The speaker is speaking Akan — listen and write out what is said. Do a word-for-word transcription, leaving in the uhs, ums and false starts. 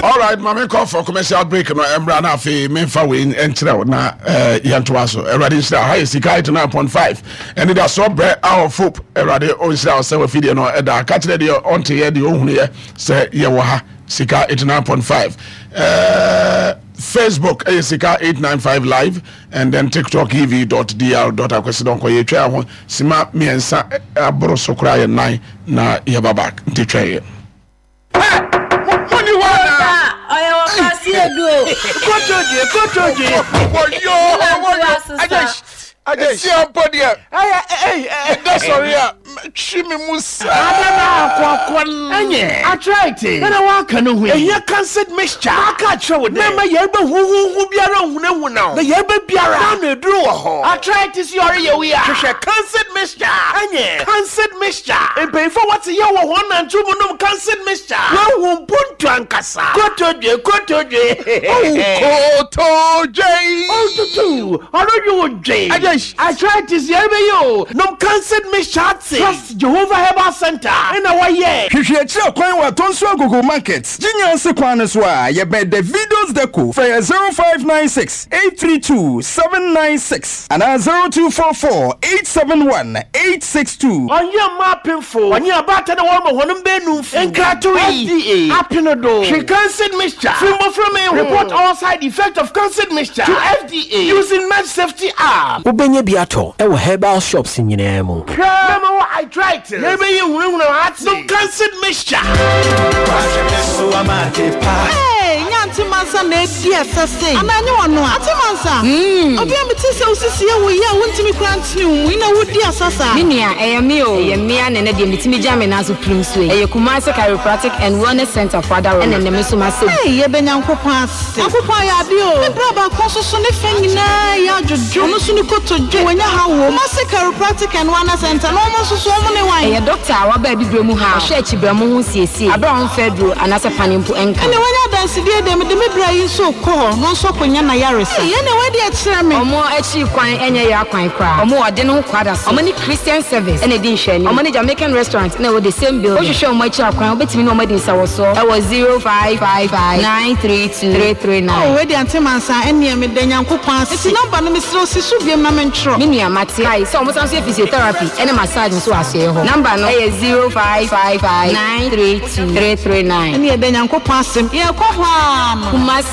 All right, maame, kɔ for commercial break no ɛmra na afei memfa wei nkyerɛ wo na eh, yɛntoa so. Awurade nhyira. Ha yɛ Sika eighty-nine point five ɛne da so brɛ our hope. Awurade ɔnhyira wo sɛ wafidie no ɛda ka kyerɛ deɛ ɔnteyɛ, deɛ ɔhunuyɛ sɛ yɛwɔ ha, Sika eighty-nine point five. uh, Facebook ɛyɛ Sika eight nine five Live and then TikTok ev dot dr dot akwasidɔnkɔ. Yɛtwa ho sima mmiɛnsa eh, aboro so koraa yɛ nan na yɛba back, nti twɛn yɛ. Moni hɔ anaa? Ɔyɛ wɔ faase edu o. Kotodwe, kotodwe. Wɔyɔ. Wɔyɔ. Esi ampo deɛ ɛda sɔre a twi mi mu saa. Adana akɔakɔ Ɛnyɛ arthritis nana waka no ho yi. Ɛhia Cancer mixture. Maka akyerɛ wo dɛ mɛma yɛreba huhuhu biara nhunahuna wo na yɛreba biara na ano aduru wɔ hɔ. Arthritis yɛ ɔreyɛ wo yi a, hwehwɛ Cancer mixture. Ɛnyɛ Cancer mixture, mpanyinfoɔ a wɔte yɛ wɔ wɔn nanto mu nom Cancer mixture, wɔahu mpontu ankasa. Kotodwe, kotodwe. Kotodwe. Otutu ɔno wo dwe. Agye. Arthritis yɛreba yi o, nom Cancer mixture ate. Trust Jehovah Herbal Center ɛna wɔyɛ. Hwehwɛ akyirɛ kwan wɔ Atɔnso Agogo Market, Gyinya kwan no so a yɛbɛn Davidos Deco. Frɛ yɛ zero five nine six eight three two seven nine six anaa zero two four four eight seven one eight six two. Ɔnyɛ mmaa apemfo, ɔnyɛ abaata na wɔma wɔn mbɛnum fu nkratoe. F D A apene do. Hwɛ Cancer mixture firi mbɔfra mi ho. Report all side effect of Cancer mixture to F D A using Med Safety app. Wobɛnya bi atɔ ɛwɔ herbal shops nyinaa mu. Hwɛ, mɛma wɔ arthritis yɛbɛyɛ hunahuna ate, nom Cancer mixture. Hey, nya Mansa na edi ɛsɛ se. Ana nye wɔn a? Ante Mansa. Obi a mete sɛ osisi yɛ wo yɛ a wontumi kura ntene wo mu ina wodi asa saa. Me nua, ɛyɛ me o, ɛyɛ mmea na ɛnɛ deɛ metumi gya me nan so pirim so yi. Ɛyɛ Kumase Chiropractic and Wellness Center fo adaworo, ɛna ɛnɛ me nso masɛ. Hey, yɛbɛ Nyankopɔn ase. Nyankopɔn ayɛ ade o. Me bra baako nso so ne fɛ nyinaa yɛ adwodwo. Ɔno nso ne kotodwe. Wɔnya ha wɔ. Kumase Chiropractic and Wellness Center na ɔmo nso so ɔmo ne wan? Ɛyɛ doctor a waba abibire mu ha a ɔhwɛ akyibrɛmo ho siesie abere a ɔmfɛ duro anaasɛ pane mpo ɛnka. Ɛna wɔnya adansidie deɛ, mede me bra yi nso kɔ hɔ na ɔnso akɔnya n'ayaresa. Hey, ɛna wɔde akyerɛ me. Ɔmo akyi kwan ɛnyɛ yɛ akwan koraa. Ɔmo wɔ ɔde ne ho kwada so. Ɔmo ne Christian Service ɛna edi nhwɛanim. Ɔmo ne Jamaican Restaurant na ɛwɔ the same building. Wohwehwɛ ɔmo akyi akwan, wobɛtumi ne ɔmo adi nsawɔsoɔ ɛwɔ zero five five five nine three two three three nine. Oh, wei de Ante Mansa, ɛneɛ meda Nyankopɔn ase. Eti number no, mesrɛ wo, si so biom na mentwerɛ. Me nua, mate. Kae sɛ ɔmo san so yɛ physiotherapy ɛne massage nso wɔ asoɛeɛ hɔ. Number no ɛyɛ zero five five five nine three two three three nine. Ɛne yɛda Nyankopɔn ase. Yɛkɔ hɔ a no. Kumasi.